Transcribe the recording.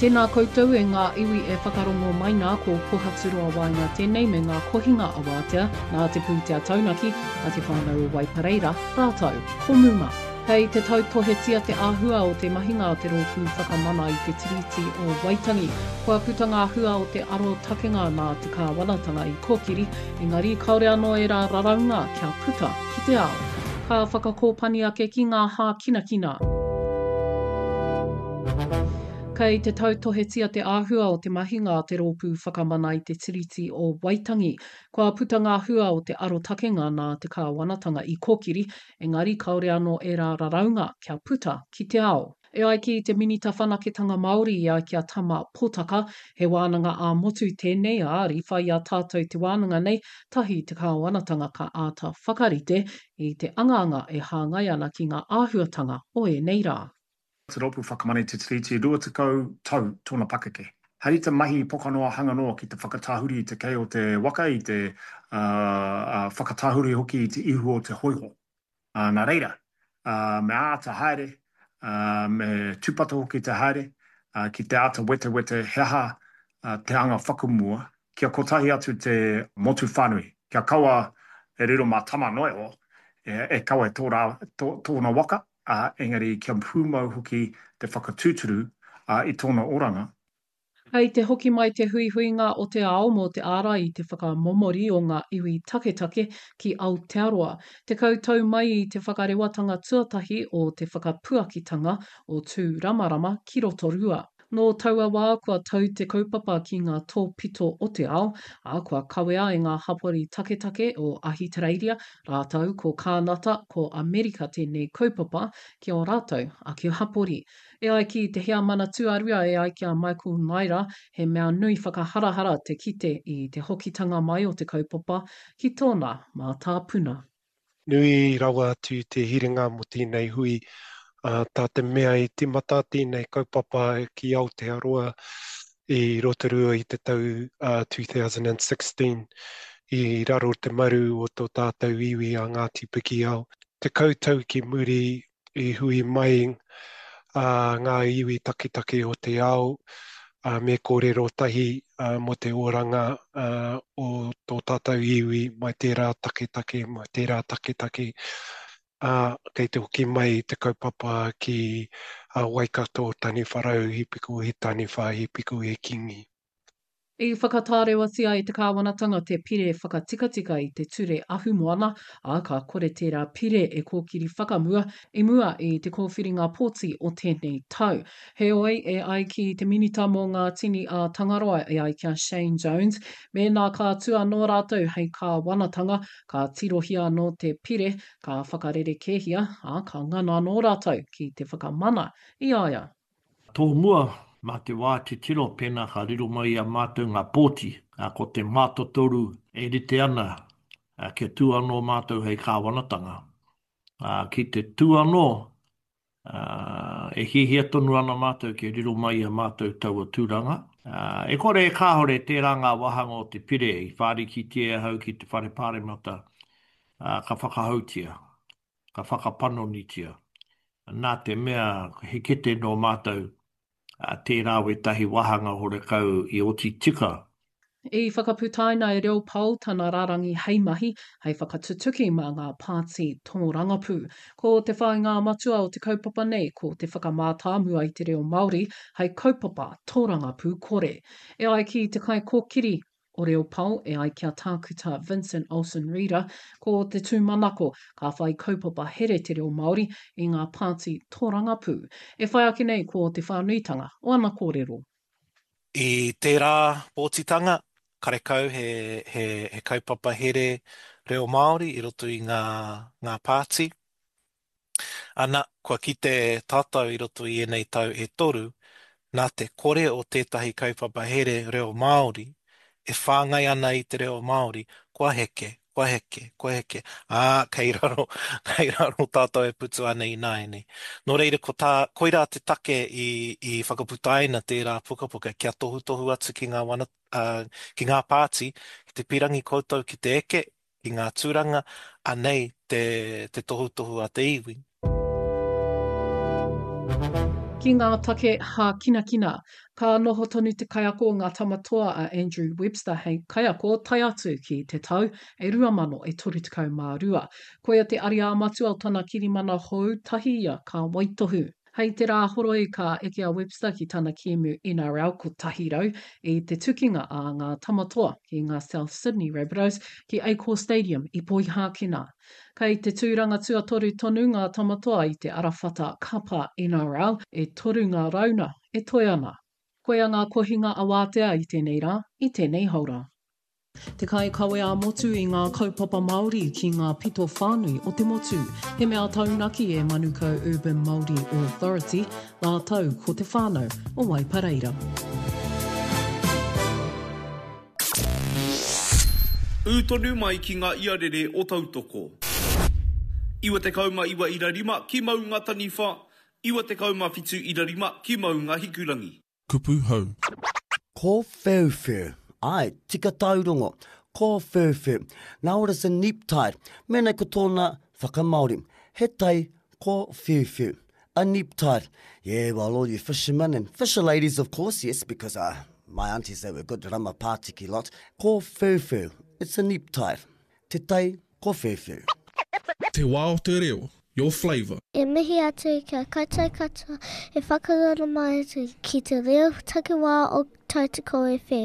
Tēnā koutou e ngā iwi e whakarongo mai nā, ko Pohaturoa Waenga tēnei me ngā kohinga awātea nā te pūtea taunaki a Te Whānau o Waipareira rātou ko Muma. Kei te tautohetia te āhua o te mahinga a te Rōpū Whakamana i te Tiriti o Waitangi. Kua puta ngā hua o te arotakenga nā te kāwanatanga i kōkiri, engari kāore anō ērā raraunga kia puta ki te ao. Ka whakakōpani ake ki ngā hākinakina. Kei te tautohetia te āhua o te mahinga a te Rōpū Whakamana i te Tiriti o Waitangi. Kua puta ngā hua o te arotakenga nā te kāwanatanga i kōkiri, engari kāore anō ērā raraunga kia puta ki te ao. E ai ki te Minita Whanaketanga Māori i ai ki a Tama Potaka, he wānanga ā-motu tēnei, ā, riwha i a tātou te wānanga nei, tahi te kāwanatanga ka āta whakarite i te angaanga e hāngai ana ki ngā āhuatanga o ēnei rā. Te Rōpū Whakamana i Te Tiriti, 20 tau tōna pakeke. Hei te mahi pokanoa hanga noa ki te whakatahuri i te kei o te waka, i te whakatahuri hoki i te ihu o te hōiho. Nā reira, me āta haere, me tūpato hoki te haere, ki te āta wetewete he aha te anga whakamua, kia kotahi atu te motu whānui, kia kaua e riro mā Tama noa iho e kawe tōna waka, ā, engari kia pūmau hoki te whakatūturu i tōna oranga. Kei te hoki mai te huihuinga o te ao mō te ārai i te whakamomori o ngā iwi taketake ki Aotearoa. 10 tau mai i te whakarewatanga tuatahi o te whakapuakitanga o Tūramarama ki Rotorua. Nō taua wā kua tau te kaupapa ki ngā tōpito o te ao, ā, kua kawea e ngā hapori taketake o Ahitereiria rātou ko Kānata, ko Amerika tēnei kaupapa ki ō rātou ake hapori. E ai ki te heamana tuarua e ai ki a Michael Naira, he mea nui whakaharahara te kite i te hokitanga mai o te kaupapa ki tōna mātāpuna. Nui rawa atu te hiringa mō tēnei hui, tā te mea i tīmata tēnei kaupapa ki Aotearoa i Rotorua i te tau 2016 i raro te maru o tō tātou iwi a Ngāti Pikiao. 10 tau ki muri i hui mai ngā iwi taketake o te ao me kōrero tahi mō te oranga o tō tātou iwi mai tērā taketake, mai tērā taketake, ā, kei te hoki mai te kaupapa ki Waikato, Taniwharau, He piko he taniwha, he piko he kingi. I whakatārewatia e te kāwanatanga te pire whakatikatika i te ture ahumoana, ā, ka kore tērā pire e kōkiri whakamua i mua i te kōwhiringa pōti o tēnei tau. Heoi, e ai ki te Minita mō ngā Tini a Tangaroa e ai ki a Shane Jones, mēnā ka tū anō rātou hei kāwanatanga, ka tirohia anō te pire, ka whakarerekēhia, ā, ka ngana anō rātou ki te whakamana i a ia. Tōmua, mā te wā titiro pēnā ka riro mai i a mātou ngā pōti, ā, ko te mātotoru e rite ana kia tū anō mātou hei kāwanatanga. Ā, ki te tū anō, ā, e hiahia tonu ana mātou kia riro mai i a mātou taua tūranga. Ā, e kore e kāore tērā ngā wāhanga o te pire i whārikitia e ahau ki te Whare Pāremata, ā, ka whakahoutia. ka whakapanonitia, nā te mea he kete nō mātou tērā wētahi wāhanga horekau i oti tika. I whakaputaina e Reo Pao tana rārangi hei mahi, hei whakatutuki mā ngā pāti tōrangapū. Ko te whāinga matua o te kaupapa nei ko te whakamātāmua i te reo Māori hei kaupapa tōrangapū kore. E ai ki te kaikōkiri o Reo Pao e ai ki a Tākuta Vincent Olsen-Reeder, ko te tūmanako ka whai kaupapa here te reo Māori i ngā pāti tōrangapū. E whai ake nei ko te whānuitanga o ana kōrero. I tērā pōtitanga, karekau he, he, he kaupapa here reo Māori i roto i ngā, ngā pāti. Ana, kua kite tātou i roto i ēnei tau e toru, nā te kore o tētahi kaupapa here reo Māori e whāngai ana i te reo Māori, kua heke, kua heke, kua heke, ā, kei raro, kei raro tātou e putu ana ināianei. Nō reira, ko tā, koirā te take i, i whakaputaina tērā pukapuka kia tohutohu atu ki ngā wana, ā, ki ngā pāti, ki te pīrangi koutou ki te eke, ki ngā tūranga, anei te, te tohutohu a te iwi. Ki ngā take hākinakina, ka noho tonu te kaiako o ngā Tama Toa a Andrew Webster hei kaiako tae atu ki te tau e 2032. Koia te ariā matua o tana kirimana hou tahi ia ka waitohu. Hei te Rāhoroi ka eke a Webster ki tana kēmu NRL 100 i te tukinga a ngā Tama Toa ki ngā South Sydney Rabbitohs ki Accor Stadium i Poihākena. Kei te tūranga tuatoru tonu ngā Tama Toa i te arawhata kapa NRL, e toru ngā rauna e toe ana. Koia ngā kohinga awātea i tēnei rā, i tēnei haora. Te kaikawe ā-motu i ngā kaupapa Māori ki ngā pito whānui o te motu. He mea taunaki e Manukau Urban Māori Authority rātou ko te whānau o Waipareira. Ū tonu mai ki ngā iarere o Tautoko. 99 ira rima ki Maunga Taniwha, 97 ira rima ki Maunga Hikurangi. Kupu hou. Kōwheuwheu. Āe, tika tāu rongo. Kōwheuwheu. Now what is a neap tide? Mēnei ko tōna whakamāori. He tai kōwheuwheu. A neap tide. Yeah, well all you fishermen and fisher ladies of course, yes, because uh, my aunties they were good rama pātiki lot. Kōwheuwheu. It's a neap tide. Te tai kōwheuwheu. Te wā o te reo, your flavour. E mihi atu ki a koutou katoa e whakaroro mai ana ki te reo takiwā o Tautoko FM.